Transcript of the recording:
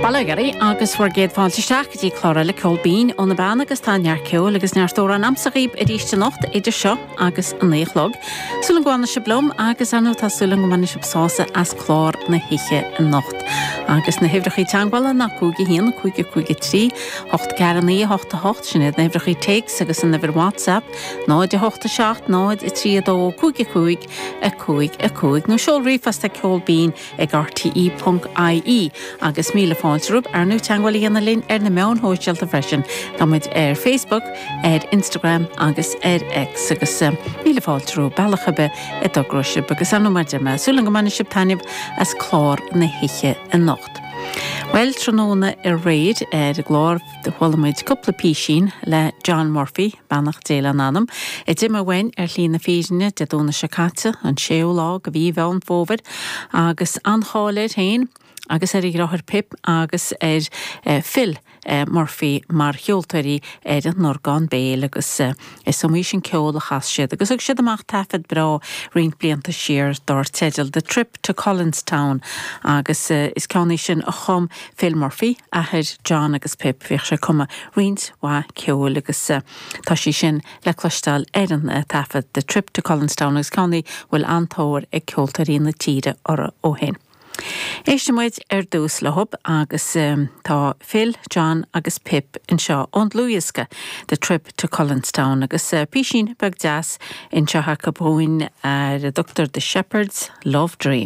Bail ó Dhia oraibh agus bhur gcéad fáilte isteach go dtí clár eile Ceol Binn ó na Beanna agus tá neart ceoil agus neart amhrán a'msa dhaoib arís anocht idir seo agus a 9 a chlog. Súil agam go bhfanfaidh sibh liom agus ar ndóigh tá súil agam go mbainfidh sibh sásamh as clár na hoíche anocht. Agus na huimhreachaí teagmhála ná 5 1 5 5 3 8 4 9 8 8 sin iad na huimhreachaí téacs agus an uimhir WhatsApp 0 8 7 0 3 2 5 5 5 5 nó seol ríomhphost ag ceolbinn ag rte ponc ie agus míle fáilte romhaibh ar ndóigh teagmháil a dhéanamh linn ar na meáin shóisialta freisin. Tá muid ar Facebook, ar Instagram agus ar X agus míle fáilte romhaibh bealach ar bith a dtogróidh sibh agus ar ndóigh mar a deir mé, súil agam go mbainfidh sibh taitneamh as clár na hoíche anocht. Bhuel, tráthnóna aréir ar an gclár chuala muid cúpla písín le John Murphy, beannacht Dé lena anam, a d'imigh uainn ar shlí na fírinne Dé Domhnaigh seo caite, an séú lá de mhí Mheán Fómhair, agus an-cháil air féin agus ar a dheartháir Pip agus ar Phil Murphy mar cheoltóirí ar an orgán béil agus is iomaí sin ceol a chas siad agus thug siad amach taifead breá roinnt blianta siar dár teideal The Trip to Cullenstown agus is ceann é sin a chum Phil Murphy, athair John agus Pip. Bhíodh sé ag cumadh roinnt mhaith ceoil agus tá sí sin le cloisteáil ar an taifead The Trip to Cullenstown agus ceann í a bhfuil an-tóir ag ceoltóirí na tíre orthu ó shin. Éistfidh muid ar dtús leo agus tá Phil, John agus Pip anseo ón dlúthdhiosca The Trip to Cullenstown agus písín beag deas anseo acu dhúinn ar a dtugtar The Shepherd's Love Dream.